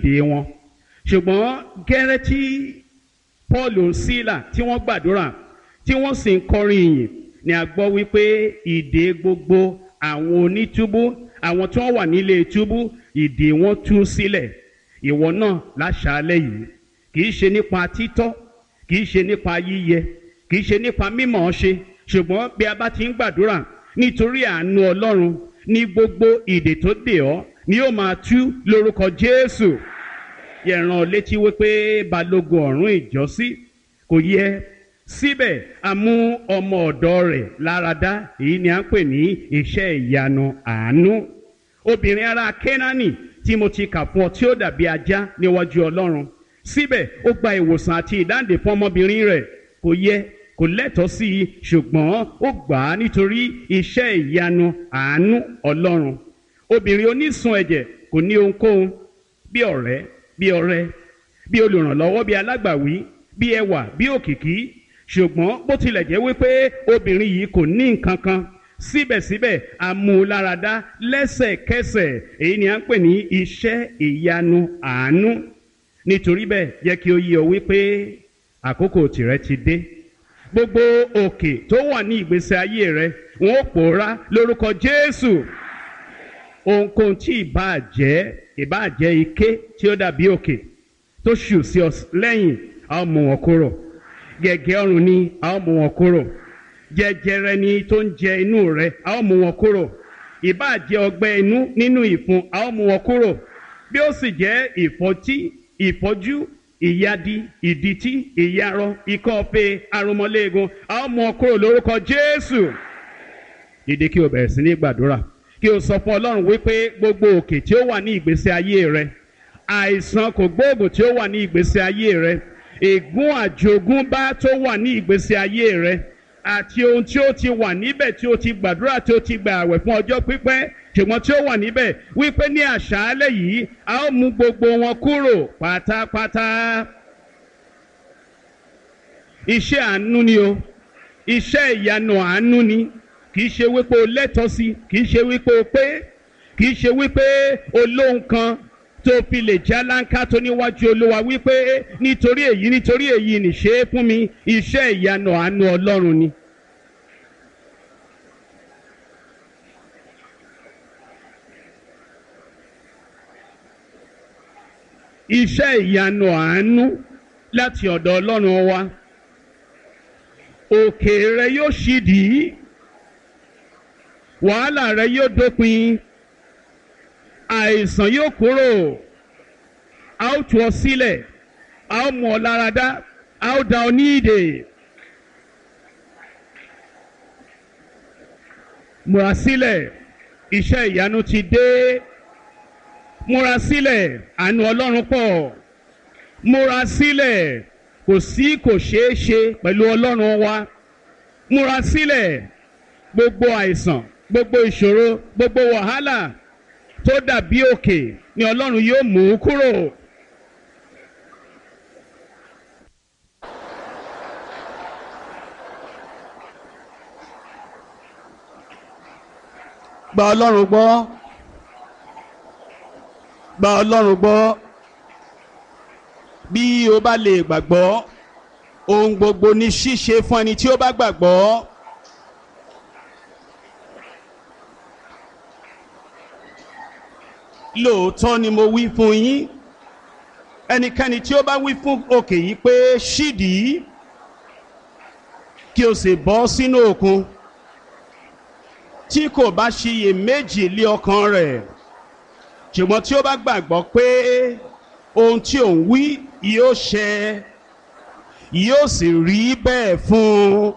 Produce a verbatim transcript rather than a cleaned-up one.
ìdè wọn. Ṣùgbọ́n gẹ́rẹ́ tí Paul Sílà tí wọ́n gbàdúrà tí wọ́n sì ń kọrin ìyìn ni a gbọ́ wípé ìdè gbogbo àwọn onítúbú, àwọn tí wọ́n wà nílé túbú, ìdè wọn tú sílẹ̀. Ìwọ náà láṣàálẹ̀ yìí, kì í ṣe nípa títọ́, kì í ṣe nípa yíyẹ, kì í ṣe nípa mímọ̀ ọ́ ṣe, ṣùgbọ́n bí a bá ti ń gbàdúrà nítorí àánú Ọlọ́run ní gbogbo ìdè tó dè ọ́ ni yóò máa tú lórúkọ Jésù. Yẹ̀ràn létí wípé balógun ọ̀rún ìjọ́sí kò yẹ, síbẹ̀ a mú ọmọ ọ̀dọ̀ rẹ̀ láradá. Èyí ni à ń pè ní iṣẹ́ ìyanu àánú. Obìnrin ará Kénáánì tí mo ti kà fún ọ tí ó dàbí ajá níwájú Ọlọ́run, síbẹ̀ ó gba ìwòsàn àti ìdáǹdè fún ọmọbìnrin rẹ̀. Kò yẹ, kò lẹ́tọ̀ọ́ sí i, ṣùgbọ́n ó gbà á nítorí iṣẹ́ ìyanu àánú Ọlọ́run. Obìnrin onísun ẹ̀jẹ̀ kò ní ohunkóhun bí ọ̀rẹ́, bí ọ̀rẹ́, bí olùrànlọ́wọ́, bí alágbàwí, bí ẹwà, bí òkìkí. Ṣùgbọ́n bó tilẹ̀ jẹ́ wípé obìnrin yìí kò ní nǹkan kan, síbẹ̀síbẹ̀ a mú un láradá lẹ́sẹ̀kẹsẹ̀. Èyí ni à ń pè ní iṣẹ́ ìyanu àánú. Nítorí bẹ́ẹ̀, jẹ́ kí ó yé ọ wípé àkókò tìrẹ ti dé. Gbogbo òkè tó wà ní ìgbésí ayé rẹ, wọn ó pòórá lórúkọ Jésù. Ohunkóhun tí ìbáà jẹ́, ìbáà jẹ́ ike tí ó dàbí òkè tó ṣù sí ọ lẹ́yìn, a ó mú wọn kúrò. Gẹ̀gẹ́ ọrùn ni, a ó mú wọn kúrò. Jẹjẹrẹ ni tó ń jẹ inú rẹ, a ó mú wọn kúrò. Ìbáà jẹ́ ọgbẹ́ inú nínú ìfun, a ó mú wọn kúrò. Bí ó sì jẹ́ ìfọ́tí, ìfọ́jú, ìyadi, ìdìtí, ìyarọ, ikọ́ ọ̀fẹ́, arúmọléegun, a ó mú wọn kúrò lórúkọ Jésù. Dìde kí o bẹ̀rẹ̀ sí ní gbàdúrà, kí o sọ fún Ọlọ́run wípé gbogbo òkè tí ó wà ní ìgbésí ayé rẹ, àìsàn kò gbóògùn tí ó wà ní ìgbésí ayé rẹ, ègún àjogúnbá tó wà ní ìgbésí ayé rẹ, àti ohun tí ó ti wà níbẹ̀ tí ó ti gbàdúrà tí ó ti gbà àwẹ̀ fún ọjọ́ pípẹ́ ṣùgbọ́n tí ó wà níbẹ̀, wípé ní àṣálẹ́ yìí a ó mú gbogbo wọn kúrò pátápátá. Iṣẹ́ àánú ni o, iṣẹ́ ìyanu àánú ni. Kì í ṣe wípé o lẹ́tọ̀ọ́ sí, kì í ṣe wípé o pé, kì í ṣe wípé o lóhun kan tó fi lè já láńká tó níwájú Olúwa wípé nítorí èyí, nítorí èyí nìṣe é fún mi. Iṣẹ́ ìyanu àánú Ọlọ́run ni. Iṣẹ́ ìyanu àánú láti ọ̀dọ̀ Ọlọ́run wa. Òkè rẹ yóò ṣídìí, wàhálà rẹ yóò dópin, àìsàn yóò kúrò, a ó tú ọ sílẹ̀, a ó mú ọ láradá, a ó dá ọ ní ìdè. Múra sílẹ̀, iṣẹ́ ìyanu ti dé. Múra sílẹ̀, àánú Ọlọ́run pọ̀. Múra sílẹ̀, kò sí kò ṣeé ṣe pẹ̀lú Ọlọ́run wa. Múra sílẹ̀, gbogbo àìsàn, gbogbo ìṣòro, gbogbo wàhálà tó dàbí òkè ni Ọlọ́run yóò mú kúrò. Gba Ọlọ́run gbọ́. Gba Ọlọ́run gbọ́. Bí o bá lè gbàgbọ́, ohun gbogbo ní ṣíṣe fún ẹni tí ó bá gbàgbọ́. Lóòótọ́ ni mo wí fún yín, ẹnikẹ́ni tí ó bá wí fún òkè yìí pé ṣídìí, kí o sì bọ́ sínú òkun, tí kò bá ṣiyèméjì lé ọkàn rẹ̀, ṣùgbọ́n tí ó bá gbàgbọ́ pé ohun tí òun wí yóò ṣẹ, yóò sì rí bẹ́ẹ̀ fún un.